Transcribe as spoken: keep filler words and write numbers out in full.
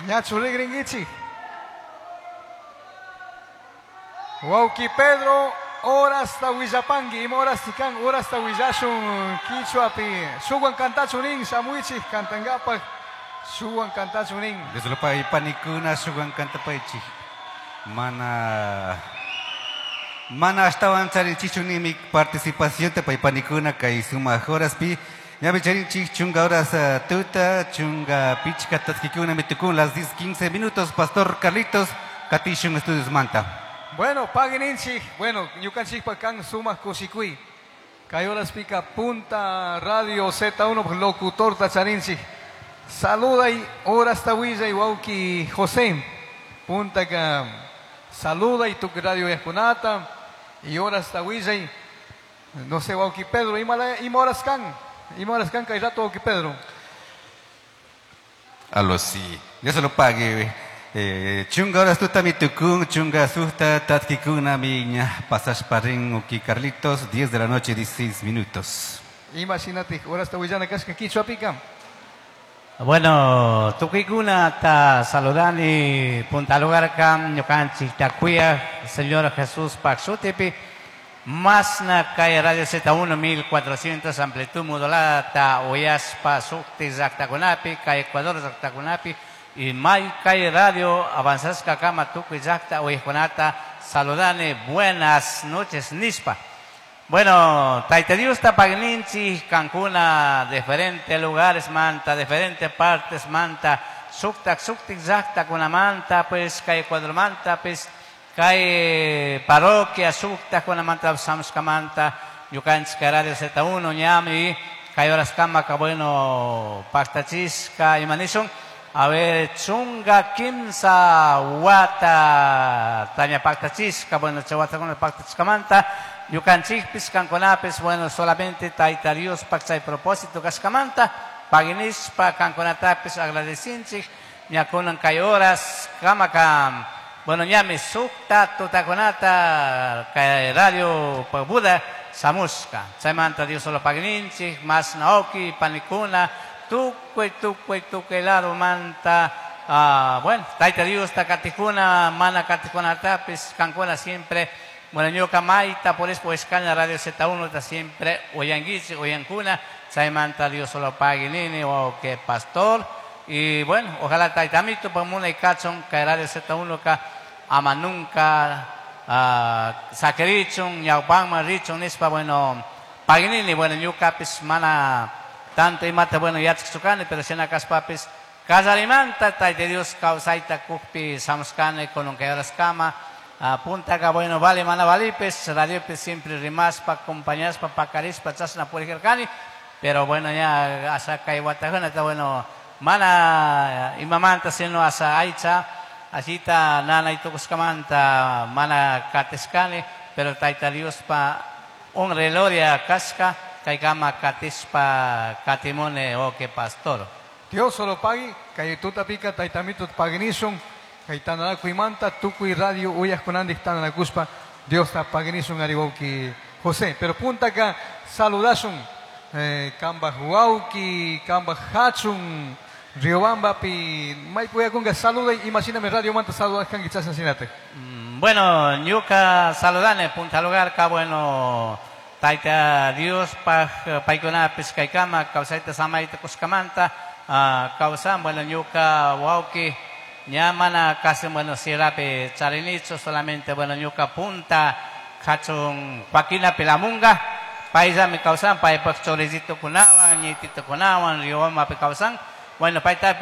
Ñachu rigringuichik. Wauki Pedro, horasta willapanki, ima horasti kan, horasta willashun kichwapi. Shuwan kantachunin, shamuichik kantankapaj, shuwan kantachunin. Dios panikuna shuwan kantapaychik. Mana mana ashtawan charinchichu nimi participación pay panikuna kay sumaq horaspi. Ñami charinchik chunga horas uh, tuta, chunga pichka tatkikuna mitukun las diez quince minutos. Pastor Carlitos, katishun estudios manta. Bueno, paguen bueno, ñukanchikpa kan sumaq kushikuy. Kay horaspika Punta Radio Z uno locutor tacharinchik. Saluda y horasta willa y wauki José. Punta ka saluda y tu radio yakunata y horasta willa y no sé wauki Pedro, ima ima horas kan, ima horas kan kay rato wauki Pedro. Aló sí, ya se lo pague. Eh, chunga horas tuta mi tukun, chunga susta tatkikuna miña, pasas parrin uki Carlitos, diez de la noche, dieciséis minutos. Imagínate, horas ta kashka kichwa pika. Bueno, tukikuna ta saludani punta lugar kam ñukanchik takuya, Señor Jesús Paxutipi, masna kay Radio Z uno mil cuatrocientos amplitud modulada ta oyaspa sukti llaqtakunapi, kay Ecuador llaqtakunapi, y may kay radio avanzasca kama tukuy llaqta oyajkunata saludani, buenas noches nispa. Bueno, Taita Dios tapagninchi, Cancuna, diferentes lugares manta, diferentes partes manta, suktak, suktik llaqta kuna manta, pues kay Ecuador manta, pues kay parroquia suktak kuna manta, samska manta, ñukanchik Radio Z uno, ñami, kay horas kama, ka bueno, pactachisca, imanishun. A ver, chunga kimsa wata taña pactachisca, bueno, chawata con el pactachiscamanta, ñukanchikpis, canconapis, bueno, solamente Taita Dios pachay propósito cascamanta, paginispa, canconatapis, agradecinchik, ñakunan kay horas, kamakam, bueno, ñami sukta, tutakunata, kay radio Buda, samuska, chaymanta Dios solo pagininchik, mas naoki, panikuna, tukuy, tukuy, tukuy lado manta, ah, bueno, Taita Dios, takatikuna, mana katikuna tapis, cancuna siempre, bueno, ñuka maita, por eso, pues, caña Radio Z uno, está siempre, oyanguichi, oyancuna, chaymanta Dios solo pague nini, o que pastor, y bueno, ojalá taitamito, pues, muna y cachon, que Radio Z uno, ka, ama nunca, ah, saquerichon, ñaupanma, richon, nispa, bueno, paguinini, bueno, ñuka, pues, mana, tanto y mata, bueno, ya txukane, pero si en acaspapis, casarimanta, taita Dios, causaita, kukpi, samskane, con un que horas cama, apunta acá, bueno, vale, mana, valipes, radio, pues, siempre rimaspa, compañaspa, pacarispa, chasna, puerjercani, pero bueno, ya, asa, kaiwatajuna, está bueno, mana, imamanta, sino asa, aicha, asita, nana, y tucuscamanta, mana, katescane, pero taita Dios, pa, un reloria, casca, kaikama, katispa, katimone, o que pastor. Dios solo pagui, kaytuta pica, taitamito paginishun, kaitanana kuimanta, tukui radio, uyas kunandik tananakuspa, Dios ta paginishun ariwauki José. Pero punta acá, saludashun, eh, kamba huauki, kamba hachun, Riobamba pi, maipuyakunga saluda, imagíname radio manta saludas kangi chasan sinate. Mm, bueno, ñuka saludane, punta lugar, ka bueno, Taita Dios paj paikunapis kaykama, kawsayta samayta kuskamanta, ah, kawsan, bueno, ñuka wauki, ña mana casi, bueno, sierrapi charinicho, solamente, bueno, ñuka punta, kachun Joaquina Pelamunga, paisami kawsan, paypak chorizito kunawan, ñitito kunawan, Riobamba pi kawsan, bueno, paytapis